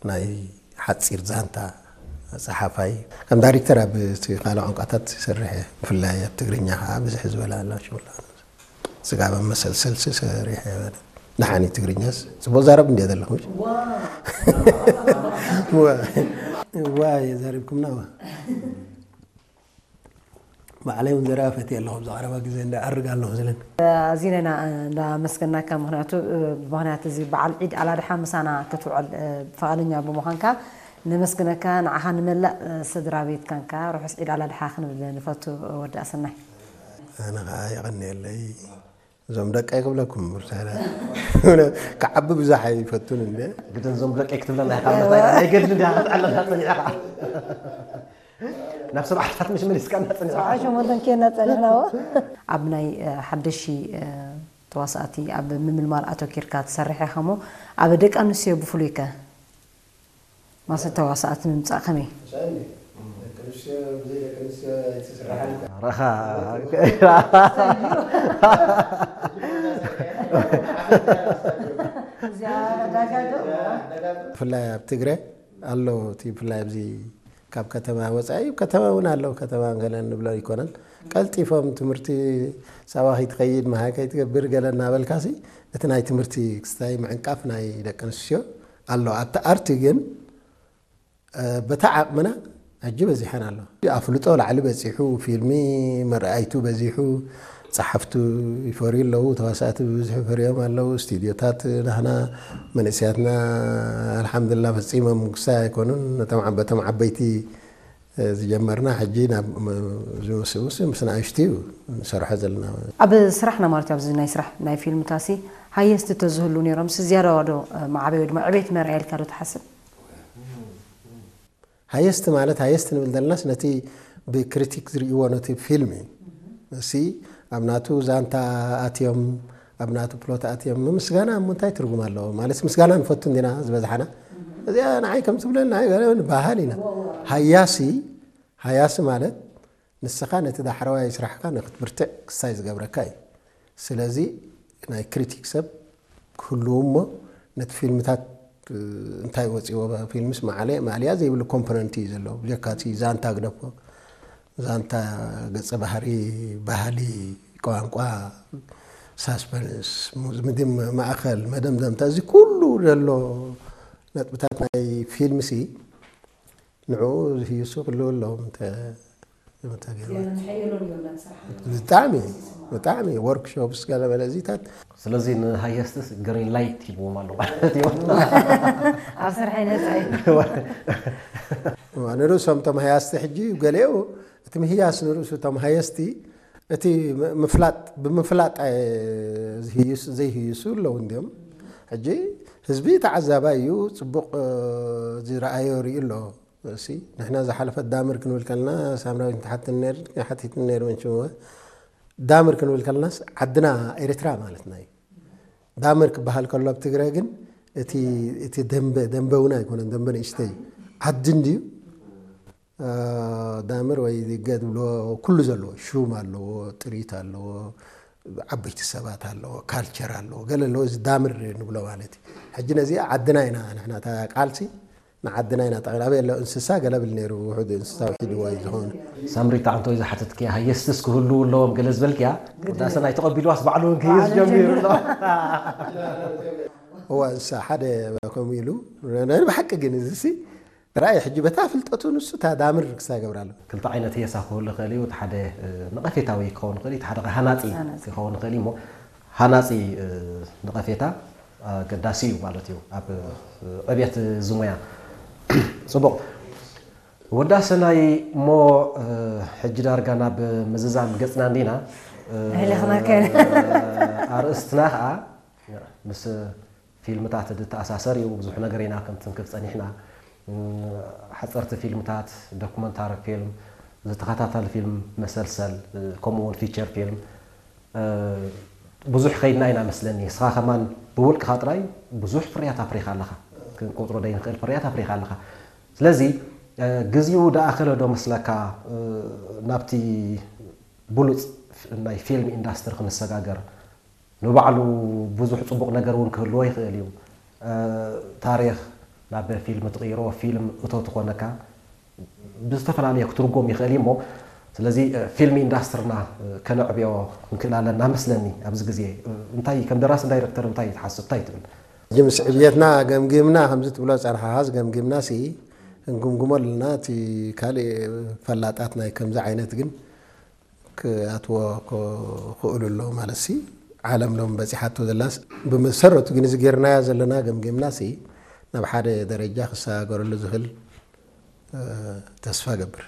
ናይ ሓፂር ዛንታ ጸሓፋይ፣ ከም ዳይሬክተር ኣብ እቲ ካልእ ቋንቋታት ይሰርሕ እየ። ብፍላይ ኣብ ትግርኛ ከዓ ብዝሕ ዝበለ ኣሎ ሽሙላ። ስጋብ ኣብ መሰልሰል ሰሪሐ። ደሓኒ ትግርኛስ ጽቡቅ ዛረብ እንድየ ዘለኹ። ዋ። ዋ። ዋ የዛሪብኩምና ዋ። ባዕለይ እውን ዘረባ ፈትየ ኣለኹ። ኣብዚ ቀረባ ግዜ እንዳ ኣርግ ኣለኹ ዝለን። ኣዚና ኢና እንዳመስገናካ፣ ምኽንያቱ፣ እ፣ ብምኽንያት እዚ በዓል ዒድ ኣላድሓ ምሳና ክትውዕል፣ እ፣ ፈቓደኛ ብምዃንካ ነመስግነካ። ንዓኻ ንመላእ፣ እ፣ ስድራ ቤትካን ከኣ ርሑስ ዒድ ኣላድሓ ክንብል ንፈቱ። ወዲ ኣሰናይ። ኣነ ኸኣ የቐንየለይ። እዞም ደቀይ ክብለኩም፣ ብርሳና ክዓቢ ብዙሕ ኣይፈቱን እንደ። ግድን እዞም ደቀይ ክትብለና ኢኻ፣ ምርታ ኢኻ። ናይ ገድሊ እንዲኻ ክትዓለና ጸኒዕኻ። ናብ ሰብዓ ዓሰርተ ምሽ መሊስካ እና ጸኒዕኻ። ሰብዓ ሸሞንተን ኬና ጸኒሕናዎ። ኣብ ናይ፣ እ፣ ሓደሺ፣ እ፣ ተዋሳእቲ ኣብ ምምልማል ኣተኪርካ ትሰርሕ ኢኻ እሞ፣ ኣብ ደቂ ኣንስትዮ ብፍሉይ ከ ማሰ ተዋሳእቲ ምምጻእ ከመይ? ራኻ ብፍላይ ኣብ ትግረ ኣሎ እቲ ብፍላይ ኣብዚ ካብ ከተማ ወጻኢ ከተማ እውን ኣሎ ከተማ ገለ ንብሎ ኣይኮነን ቀልጢፎም ትምህርቲ ሳባ ከይትኸይድ መሃይ ከይትገብር ገለ እናበልካሲ እቲ ናይ ትምህርቲ ክስታይ ምዕንቃፍ ናይ ደቂ ኣንስትዮ ኣሎ ኣብቲ ኣርቲ ግን በታ ዓቕምና ሕጂ በዚሐን ኣሎ ኣፍልጦ ላዕሊ በፂሑ ፊልሚ መርኣይቱ በዚሑ ፀሓፍቱ ይፈርዩ ኣለዉ ተዋሳእቲ ብብዝሒ ፈርዮም ኣለዉ ስቱድዮታት ናህና መንእስያትና ኣልሓምዱላ ፈፂሞም ክሳይ ኣይኮኑን ነቶም በቶም ዓበይቲ ዝጀመርና ሕጂ ናብ ዝውስውስ ምስ ንኣሽቱ እዩ ንሰርሖ ዘለና ኣብ ስራሕና ማለት ኣብዚ ናይ ስራሕ ናይ ፊልምታሲ ሃየስቲ ተዝህሉ ነይሮም ዝያዳ ዋዶ ማዕበይ ድማ ዕቤት መርኣየልካ ዶ ትሓስብ ሃየስት ማለት ሃየስት ንብል ዘለናስ ነቲ ብክሪቲክ ዝርእይዎ ነቲ ፊልም እዩ። እሲ ኣብ ናቱ ዛንታ ኣትዮም ኣብ ናቱ ፕሎት ኣትዮም ምስጋና እሞ እንታይ ትርጉም ኣለዎ? ማለት ምስጋና ንፈቱ እንዲና ዝበዝሓና። እዚኣ ንዓይ ከም ትብለኒ ንዓይ ገለ ንበሃል ኢና። ሃያሲ ሃያሲ ማለት ንስኻ ነቲ ዳሕረዋይ ስራሕካ ንክትብርትዕ ክሳይ ዝገብረካ እዩ። ስለዚ ናይ ክሪቲክ ሰብ ክህልው እሞ ነቲ ፊልምታት እንታይ ወፂዎ ፊልምስ ማዕለ ማዕልያ ዘይብሉ ኮምፖነንት እዩ ዘለዎ ብጀካ እቲ ዛንታ ግደፎ ዛንታ ገፀ ባህሪ ባህሊ ቋንቋ ሳስፐንስ ምድም ማእኸል መደምደምታ እዚ ኩሉ ዘሎ ነጥብታት ናይ ፊልምሲ ንዕኡ ዝህይሱ ክልው ኣለዎም ብጣዕሚ ብጣዕሚ ወርክሾፕስ ገለ መለ እዚታት ስለዚ ንሃየስትስ ግሪን ላይት ሂብዎም ኣሎ ማለት እዩ ኣብ ስራሕ ይነፃ እዩ ንርእሶም እቶም ሃያስቲ ሕጂ ገሊኡ እቲ ምህያስ ንርእሱ እቶም ሃየስቲ እቲ ምፍላጥ ብምፍላጥ ዝህይሱ ዘይህይሱ ኣለዉ እንዲዮም ሕጂ ህዝቢ ተዓዛባይ እዩ ፅቡቕ ዝረኣዮ ርኢ ኣሎ እሲ ንሕና ዝሓለፈት ዳምር ክንብል ከለና ሳምራዊት ትሓትን ነር ሓቲትን ነር መንችምወ ዳምር ክንብል ከለናስ ዓድና ኤርትራ ማለትና እዩ ዳምር ክበሃል ከሎ ኣብ ትግራይ ግን እቲ እቲ ደንበ ደንበ እውን ኣይኮነን ደንበ ንእሽተይ ዓዲ እንድዩ ዳምር ወይ ገ ዝብሎ ኩሉ ዘለዎ ሹም ኣለዎ ጥሪት ኣለዎ ዓበይቲ ሰባት ኣለዎ ካልቸር ኣለዎ ገለ ኣለዎ እዚ ዳምር ንብሎ ማለት እዩ ሕጂ ነዚኣ ዓድና ኢና ንሕና እታ ቃልሲ ንዓድና ኢና ጠቕላበ የለ እንስሳ ገለ ብል ነይሩ ውሑድ እንስሳ ውሒድዎ እዩ ዝኾኑ ሳምሪ እታ እንተወይ ዝሓተትክያ ሃየስትስ ክህልው ኣለዎም ገለ ዝበልክያ ውዳሰ ናይ ተቐቢልዋስ ባዕሉ እውን ክህይስ ጀሚሩ ኣሎ እዋ እንስሳ ሓደ ከምኡ ኢሉ ናይ ብሓቂ ግን እዚ ሲ ራእይ ሕጂ በታ ፍልጠቱ ንሱ እታ ዳምር ክሳ ይገብራ ኣሎ ክልተ ዓይነት ህየሳ ክህሉ ይኽእል እዩ እቲ ሓደ ነቐፌታዊ ክኸውን ይኽእል እዩ እቲ ሓደ ሃናፂ ክኸውን ይኽእል እዩ እሞ ሃናፂ ነቐፌታ ኣገዳሲ እዩ ማለት እዩ ኣብ ዕብየት ዝሙያ ፅቡቕ ወዳሰናይ እሞ ሕጂ ዳርጋ ናብ ምዝዛም ገፅና እንዲና ኣርእስትና ከዓ ምስ ፊልምታት ዝተኣሳሰር እዩ ብዙሕ ነገር ኢና ክንትንክፍ ፀኒሕና ሓፀርቲ ፊልምታት ዶኩመንታሪ ፊልም ዝተኸታተል ፊልም መሰልሰል ከምኡ እውን ፊቸር ፊልም ብዙሕ ከይድና ኢና መስለኒ እስኻ ከማን ብውልቅኻ ጥራይ ብዙሕ ፍርያት ኣፍሪኻ ኣለኻ ክንቆፅሮ ደይንኽእል ፍርያት ኣፍሪኻ ኣለኻ ስለዚ ግዜኡ ደኣኸለ ዶ መስለካ ናብቲ ብሉፅ ናይ ፊልም ኢንዳስትሪ ክንሰጋገር ንባዕሉ ብዙሕ ፅቡቕ ነገር እውን ክህልዎ ይኽእል እዩ ታሪክ ናብ ፊልም ትቕይሮ፣ ፊልም እቶ ትኾነካ ብዝተፈላለየ ክትርጎም ይኽእል እዩ እሞ፣ ስለዚ ፊልም ኢንዳስትርና ከነዕብዮ ክንክእል ኣለና መስለኒ። ኣብዚ ግዜ እንታይ ከም ደራስን ዳይረክተር እንታይ ትሓስብ እንታይ ትብል? ጅምስ ዕብየትና ገምጊምና ከምዚ ትብሎ ጸርሓሃስ ገምጊምና ሲ እንግምግሞ ኣለና። እቲ ካልእ ፈላጣት ናይ ከምዚ ዓይነት ግን ክኣትዎ ክኽእሉ ኣለዉ ማለት ሲ ዓለም ሎም በጺሓቶ ዘላስ ብመሰረቱ ግን እዚ ጌርናዮ ዘለና ገምጊምና ሲ ናብ ሓደ ደረጃ ክሰጋገረሉ ዝኽእል ተስፋ ገብር።